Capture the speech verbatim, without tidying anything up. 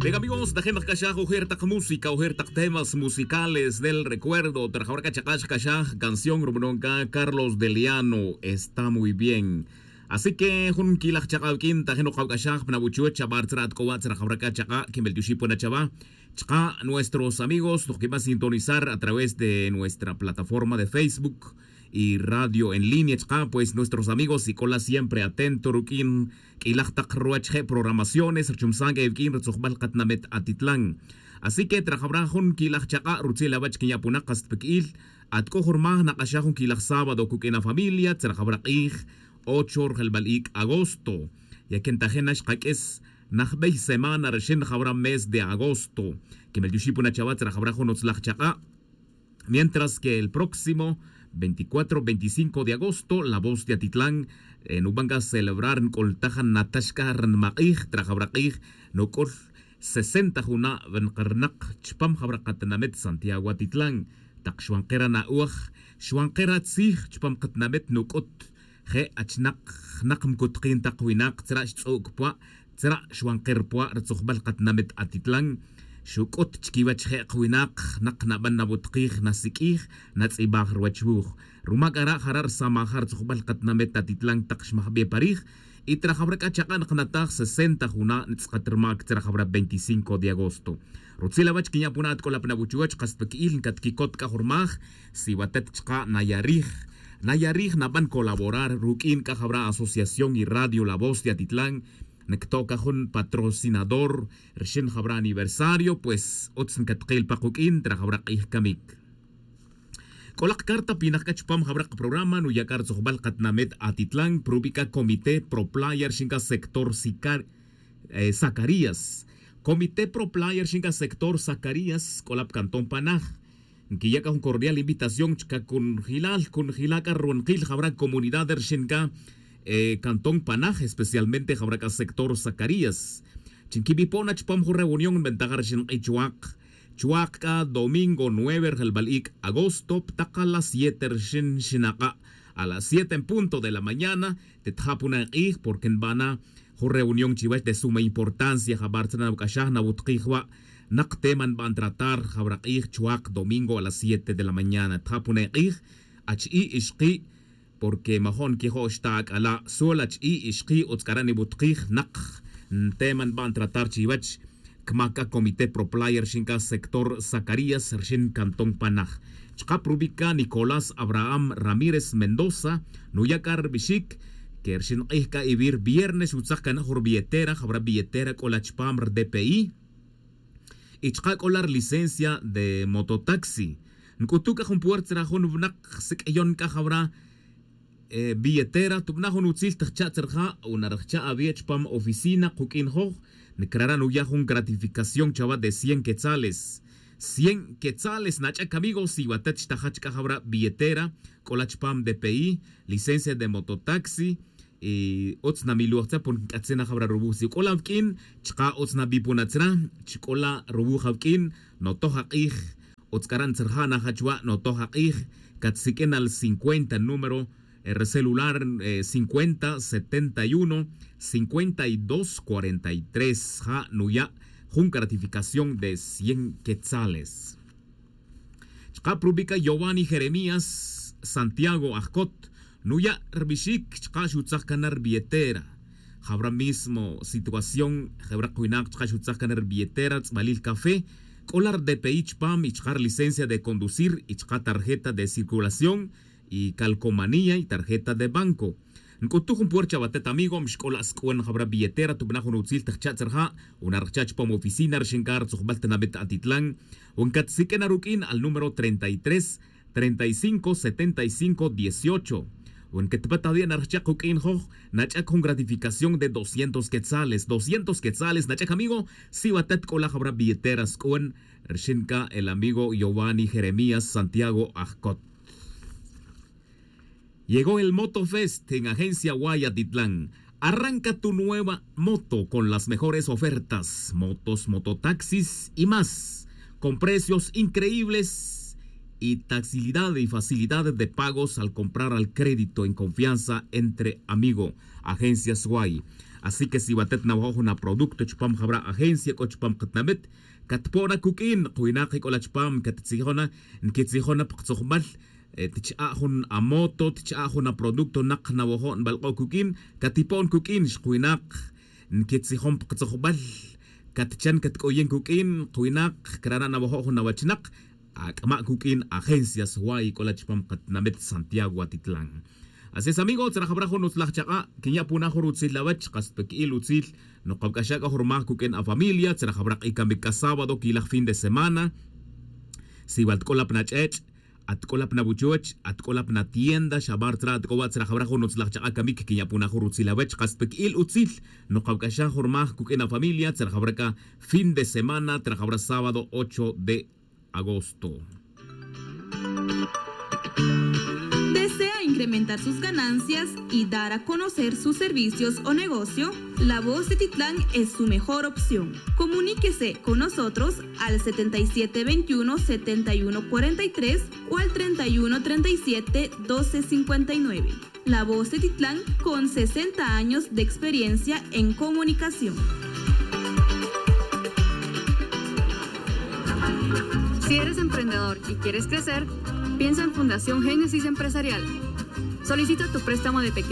Venga amigos, tajin kac'axaj ojer tak música, ojer tak temas musicales del recuerdo. Trajawra k'a chaq'a' xkac'axaj canción rubanon k'a Carlos Deliano, está muy bien. Así que jun quilaj chaq'a' wiq'uin tajin ok awac'axaj pa nabuchuch chabar tzra' at c'o wa' tzra' jawra c'a chaq'a' quimbel tioxi' pona chawa. Chka' nuestros amigos noj quiba sintonizar a través de nuestra plataforma de Facebook y radio en línea chka' pues nuestros amigos y c'ola siempre atento ruq'uin q'uilaj tak ruwach je' programaciones richumsan c'a iwq'uin ritzujbal katinamit atitlan. Así que trajawra jun quilaj chak'a' rutzil awach quinya' punak kasta pa qui'il at c'o jun rmaj nak'axaj jun quilaj sábado cuq'uin afamilia tzrajawra k'ij ocho rjelbal ic' agosto. Ya que ntajin na xkaq'uis najbey semana rixin jawra mes de agosto. Quimel tioxi' puna chawa tzrajawra jun utzlaj chak'a'. Mientras que el próximo veinticuatro veinticinco de agosto la voz de atitlan nuban c'a celebrar nc'ultaj natax c'a rnmak'ij trajawra k'ij nuc'ul sesenta juna' wi nkarnak chupam jawra katinamit santiago atitlan. Tak xwankera na'oj xwankera tzij chupam katinamit nuc'ut je' achnak jnak mcutkin tak winak tzra' xtz'u' cpwa' tzra' xwanker pwa' ritzujbal katinamit atitlan. Xuc'ut chiquiwech je' kawinak jnak naban nawutkij nasiq'uij natz'ibaj ruwech wuj. Ruma c'a ra' jara' risamaja' ritzujbal katinamit atitlan tak xmajbe pa rij. Y trajawra c'a chak'a' nakataj sesenta juna' nitz'akat rmac tzrajawra veinticinco de agosto. Rutzil awach quinya' puna' at c'ola pa nawuchuwech kasta pa qui'il ncatquicot c'a jun rmaj si watet chka' naya rij naya rij naban colaborar ruq'uin c'a jawra asociación y radio la voz de atitlan. Ncto' c'a jun patrocinador rixin jawra aniversario pues utz ncatkil pa kuq'uin trajawra k'ij camic. C'o lak carta pinak c'a chupam jawra kaprograma nuya' c'a ritzujbal katinamit atitlan prubi c'a comité proplaya rixin c'a sector zacarías. Comité proplaya rixin c'a sector zacarías c'o la pa cantón panaj. Nquiya' c'a jun cordial invitación chca cunjilal cunjila' c'a ruwankil jawra comunidad rixin c'a cantón panaj especialmente jawra c'a sector zacarías. Chi nquibipo' na chupam jun reunión nbentaja rixin k'i chuwak chuwak c'a domingo nueve rjelbal ic' agosto ptak a las siete rixin xinak'a' a las siete en punto de la mañana. Tetja' puna k'ij porque nbana jun reunión chiwech de suma importancia jabar tzra' nawac'axaj nawutkij wa' nak tema nban tratar jawra k'ij chuwak domingo a las siete de la mañana tja' puna k'ij. Achi'i' ixki' porque majo' nquijo' xta ac'ala' sol achi'i' ixki' utz c'ara' niwutkij nak ntema nban tratar chiwech. Cmac c'a comité proplaya rixin c'a sector zacarías rixin cantón panaj. Chka' prubi' c'a nicolás abraham ramírez mendoza nuya' c'a ribixic que rixin k'ij c'a iwi' riviernes xutzak cana' jun ribilletera jawra billetera c'o la chupam ridpi. Y chka' c'o la rilicencia de mototaxi nc'utu' c'a jun puerta tzra jun winak siq'uiyon c'a jawra billetera tubana' jun utzil tajcha' tzra ja' o narajcha' awi' chupam oficina kuq'uin joj. Ncarara' nuya' jun gratificación chawa de cien quetzales. Cien quetzales nach'ac amigo si watet xtajach c'a jawra billetera c'o la chupam dpi licencia de mototaxi. Y utz namiloj tzra' porque nc'atzin na jawra ruwuj si c'o la wiq'uin chka' utz nabi puna tzra' chi c'o la ruwuj awiq'uin. Notoj ak'ij utz c'ara' ntzraja' najach wa' notoj ak'ij. Catsiq'uin al cincuenta número re celular cincuenta setenta y uno cincuenta y dos cuarenta y tres ja' nuya' jun gratificación de cien quetzales. Chka' prubi' c'a yovani jeremías santiago ajcot nuya' ribixic chka' xutzak cana ribilletera. Jawra mismo situación jewra kwinak chka' xutzak cana ribilletera tz'balil café c'o la ridpi chupam y chka' rilicencia de conducir y chka' tarjeta de circulación y calcomanía y tarjeta de banco. Nc'utu' jun puerta chawatet amigo mixc'ola' sc'uan jawra billetera tubana' jun utzil tajcha' tzraja' o narajcha' chupam oficina rixin c'a ritzujbal tinamit atitlan. O ncatsiq'uin aruq'uin al número treinta y tres treinta y cinco setenta y cinco dieciocho. O nquetpat awi' narajcha' kuq'uin joj nach'ac jun gratificación de doscientos quetzales doscientos quetzales nach'ac amigo. Si watet c'o la jawra billetera sc'uan rixin c'a el amigo yovani jeremías santiago ajcot. Llegó el motofest en agencia guaya titlán. Arranca tu nueva moto con las mejores ofertas motos mototaxis y más con precios increíbles y taxilidad y facilidades de pagos al comprar al crédito en confianza entre amigo. Agencias guay. Así que si watet nawajo' jun aproducto chupam jawra' agencia c'o chupam katinamit, catpo'na cuq'uin kawinak c'o la chupam cattzijon na, nquetzijona pa katzojbal. Tch'a' jun amoto, tch'a' jun aproducto nak nawajo' nbalk'o' cuq'uin, catipo'n cuq'uin xkawinak. Nquetzijon pa katzojbal. Catchan catc'oyen cuq'uin kawinak, crana' nawajo' jun awachnak. Ac'ama' cuq'uin agencias way c'o la chupam katinamit santiago atitlan. Así es amigo, tzrajawra jun utzlaj chak'a' quinya' puna jun rutzil awech, kas pa qui'il utzil. Nokawc'axa' c'a jun rumaj cuq'uin afamilia, tzrajawra k'icamic c'a sábado quilaj fin de semana. Si wal tic'ol apna ch'ech', atc'ol apna wuchuch, atc'ol apna tienda xabar tzra atc'owa' tzrajawra jun utzlaj chak'a' camic quinya' puna jun rutzil awech, kas pa qui'il utzil. Nokawc'axa' jun rumaj cuq'uin afamilia, tzrajawra c'a fin de semana, tzrajawra sábado ocho de agosto. ¿Desea incrementar sus ganancias y dar a conocer sus servicios o negocio? La Voz de Titlán es su mejor opción. Comuníquese con nosotros al setenta y siete veintiuno, setenta y uno cuarenta y tres o al treinta y uno treinta y siete, doce cincuenta y nueve. La Voz de Titlán, con sesenta años de experiencia en comunicación. Si eres emprendedor y quieres crecer, piensa en Fundación Génesis Empresarial. Solicita tu préstamo de pequeño